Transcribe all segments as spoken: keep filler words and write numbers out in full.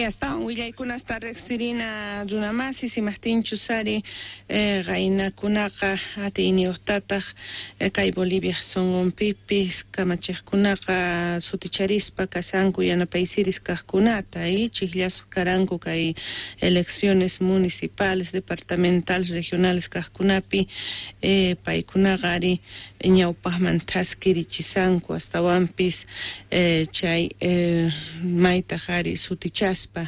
Astawan willaykunasta riqsirina runamasis imajtinchus ari eh, qaynakunaqa atiyniyuqtataq eh, kay Bolivia sunqunpipis kamachiqkunaqa suticharispa kashanku yanapaysiris kaqkunata y chijllasqa karanku kay elecciones municipales, departamentales, regionales kaqkunapi eh, paykunaqa ari ñawpaqman thaskirichisanku astawanpis eh, chay eh, maytaq ari sutichaspa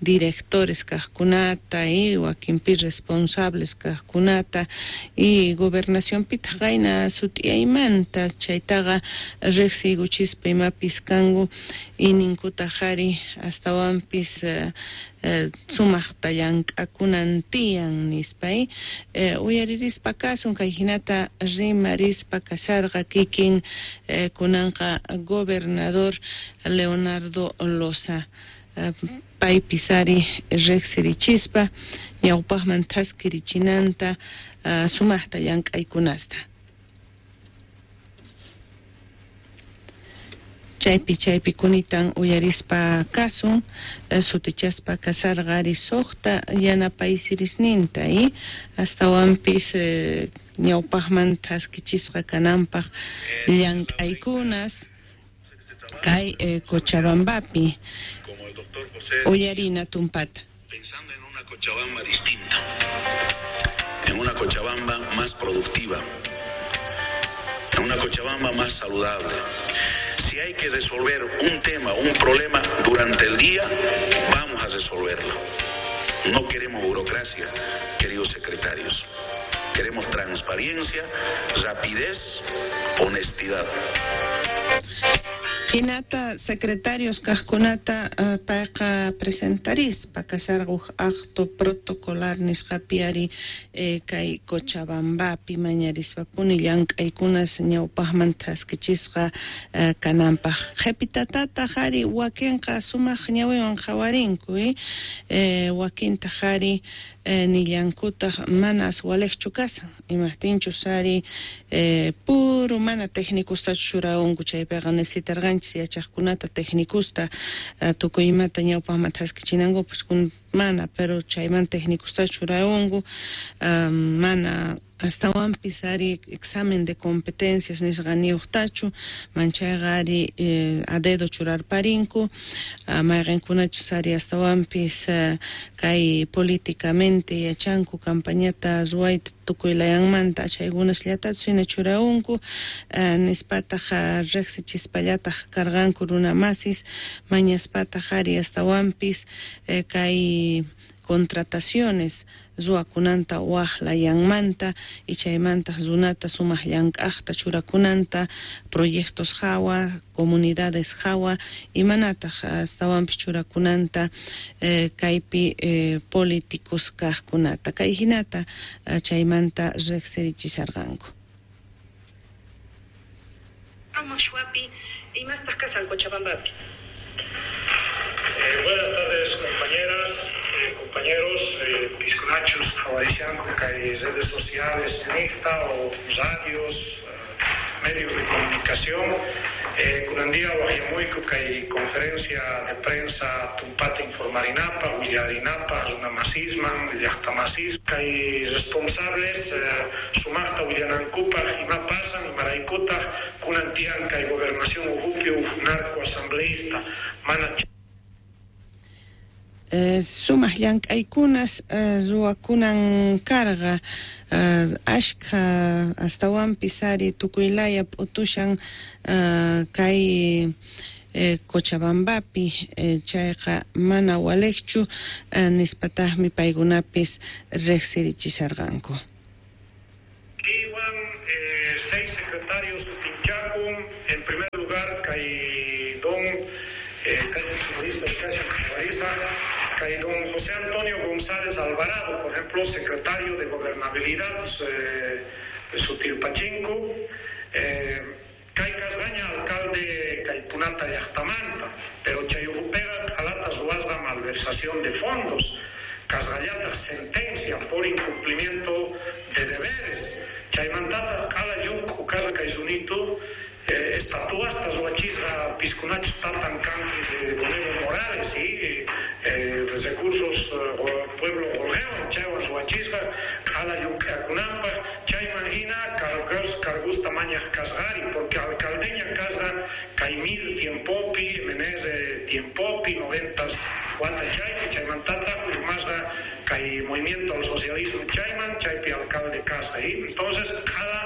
directores kaqkunata y wakinpi responsables kaqkunata y gobernacionpitaq qayna sut'iyaymanta chaytaqa riqsiykuchispa imapis kanku y ninkutaq ari astawanpis eh, eh, sumaqta llank'akunan tiyan nispa y eh, uyaririspa kasun kay hinata rimarispa kasharqa kikin eh, kunanqa gobernador Leonardo Loza eh, paypis ari riqsirichispa ñawpaqman thaskirichinanta uh, sumaqta llank'aykunasta. Chaypi chaypi kunitan uyarispa kasun eh, sutichaspa kasarqa ari suqta yanapaysirisninta y astawanpis eh, ñawpaqman thaskichisqa kananpaq llank'aykunas kay eh, Cochabambapi. Como el doctor José, Uyarina tumpata. Pensando en una Cochabamba distinta, en una Cochabamba más productiva, en una Cochabamba más saludable. Si hay que resolver un tema, un problema durante el día, vamos a resolverlo. No queremos burocracia, queridos secretarios. Queremos transparencia, rapidez, honestidad. Hinata secretarios kaqkunata uh, payqa presentarispa kasharqa huk acto protocolar nisqapi ari eh, kay Cochabambapi mañarispapuni llank'aykunas ñawpaqman thaskichisqa uh, kananpaq. Qhipitatataq ari wakinqa sumaq ñawiwan qhawarinku eh, eh, wakintaq ari eh, nillankutaq manas waliqchu kasan imajtinchus ari eh, puro mana técnicostachu churawanku chaypiqa necesitarqanchis yachaqkunata técnicosta uh, tukuy imata ñawpaqman thaskichinankupas mana, pero chayman técnicosta churawanku um, mana astawanpis ari examen de competencias nisqaniyuqtachu manchayqa ari eh, a dedo churarparinku uh, mayqinkunachus ari astawanpis uh, kay políticamente yachanku campañata ruwayta tukuy layanmanta chaykunasllatachu hina churawanku uh, nispataq uh, riqsichispallataq karqanku runamasis mañaspataq ari astawanpis eh, kay contrataciones ruwakunanta waj layanmanta y chaymantaq runata sumaq llank'aqta churakunanta proyectos hawa, comunidades hawa imanataq astawanpis churakunanta eh, kaypi eh, políticos kaqkunata kay hinata eh, chaymanta riqsirichisharqanku. Imastaq kasan Cochabambapi. Eh, buenas tardes, compañeras, eh, compañeros, eh, pisconachos, javaricianco, que hay redes sociales, N I C T A o radios, eh, medios de comunicación. Eh, Kunandía, Guayamuico, que hay conferencia de prensa Tumpata Informarinapa, Willarinapa, Runamasisman, Llaqtamasis, que hay responsables, eh, Sumaqta, Willanankupa, Imapasan, Imaraykuta, Kunantian, que hay gobernación Ujupio, Narco asambleísta, Mana. Eh, sumaq llank'aykunas eh, ruwakunan karqa eh, ashkha astawanpis ari tukuylaya p'utushan eh, kay eh, Cochabambapi eh, chayqa mana waliqchu eh, nispataqmi paykunapis riqsirichisharqanku. Iwan eh, seis secretarios Tinchacum, en primer lugar kay don eh, kay don José Antonio González Alvarado, por ejemplo, secretario de Gobernabilidad eh, Sutilpachinco, eh, kay Casdaña, alcalde Caipunata Llaqtamanta, pero chayujupega alata ruwasqa malversación de fondos, Casgallata sentencia por incumplimiento de deberes, chaymantata q'ala lluk'u karqa kay sunito eh, estatuasta ruwachisqa piskunachus tatan kanki de don Evo Morales y eh, gastos pueblo qolqewan chaywan ruwachisqa qhala llunk'akunanpaq chayman hina cargos cargusta mañaq kasqari porque alcaldeña kasqa kay mil tiempopi M N S tiempopi noventas wata chaypi chaymantataq urmasqa kay movimiento al socialismo chayman chaypi alcalde kasqa y entonces cada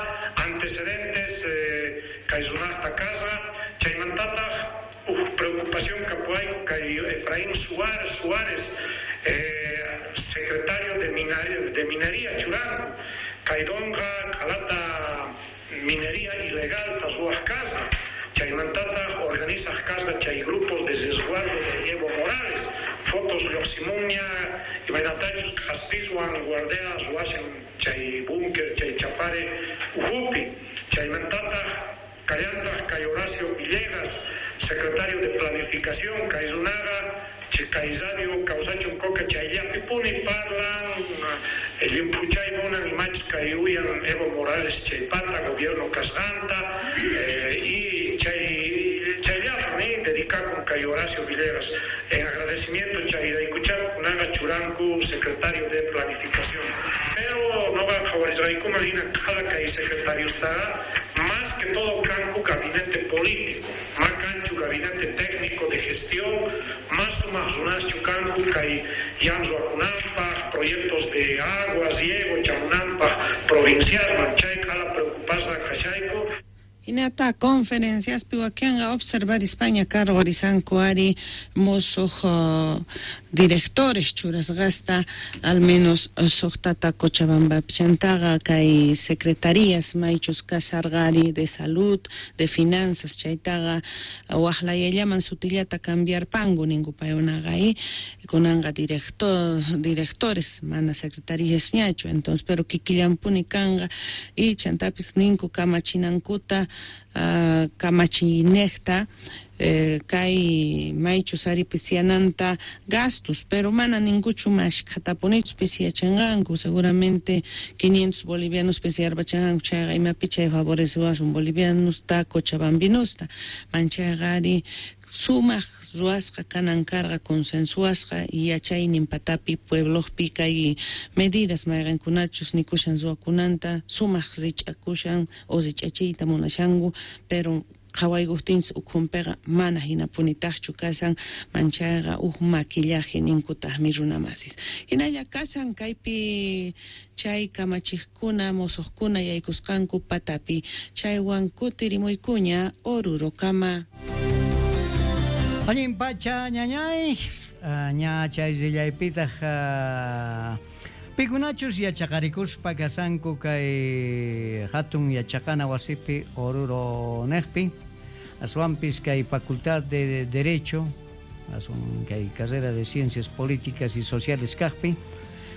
antecedentes eh, kay runaqta kasqa chaymantataq uj preocupación kapuay kay Efraín Suárez Suárez eh, secretario de minería, de minería churanku kay donqa qhalata minería ilegal ta ruwaq kasqa chaymantataq organizaq kasqa chay grupos de resguardo de Evo Morales fotos lluqsimunña imaynatachus k'aspiswan guardia ruwashan chay búnker chay chapare ujupi chaymantataq kallantaq kay Horacio Villegas secretario de planificación kay runaqa kay radio kawsachun coca chayllapipuni parlan llimphuchay munan imachus kay uyan Evo Morales chaypata gobierno kasqanta eh, y chay chayllapuni dedicakun kay Horacio Villegas en agradecimiento chayraykuchá kunaqa churanku secretario de planificación pero noqa qhawarisqaykuman hina qhala kay secretariustaqa más que todo kanku gabinete político ma kanchu gabinete técnico de gestión más sumaq runaschu kanku kay yan ruwakunanpaq proyectos de agua riego chamunanpaq provincialman chay qhala preocupasqa kashayku. Hinata conferenciaspi wakinqa observarispaña cargorisanku ari mosuq uh, directores churasqasta al menos suqtata Cochabambapi chantaqa kay secretarías maychus kasarqari de salud, de finanzas chaytaqa waqlayallaman sutillata cambiarpanku ninku paykunaqa y kunanqa director directores mana secretarías ñachu entonces pero kikillanpuni kanqa y chantapis ninku kamachinankuta Uh, kamachinejta eh, kay maychus ari pisiananta gastos pero mana ninguchu mashkhatapunichu pisiyachanqanku seguramente quinientos bolivianos pisiyarpachanqanku chayqa imapi chay favorecewasun bolivianusta cochabambinusta manchayqa ari sumaq ruwasqa kanan karqa consensuasqa yachaynin patapi pueblopi kay medidas mayqankunachus nikushan ruwakunanta sumaq rich'akushan o rich'achiyta munashanku pero qhawaykuqtinchis ukhunpiqa mana hinapunitaqchu kashan manchayqa uj maquillaje ninkutaqmi runamasis hinalla kashan kaypi chay kamachiqkuna mosuqkuna yaykusqanku patapi chaywan kutirimuykuña Orurokama. Allin pacha ñañay, ña chay rillaypitaq pikunachus yachaqarikuspa kasanku kay hatun yachaqana wasipi Oruro nejpi, aswanpis kay Facultad de Derecho, aswan kay carrera de Ciencias Políticas y Sociales kaqpi,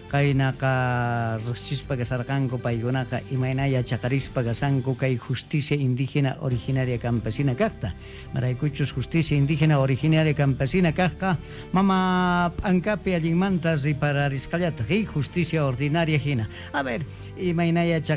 kaynaqa riqsispa kasarqanku paykunaqa imayna yachaqarispa kasanku kay justicia indígena originaria campesina kaqta maraykuchus justicia indígena originaria campesina kaqqa mama p'ankapi allinmanta ripararisqallataq y justicia ordinaria hina. A ver, imayna yachaq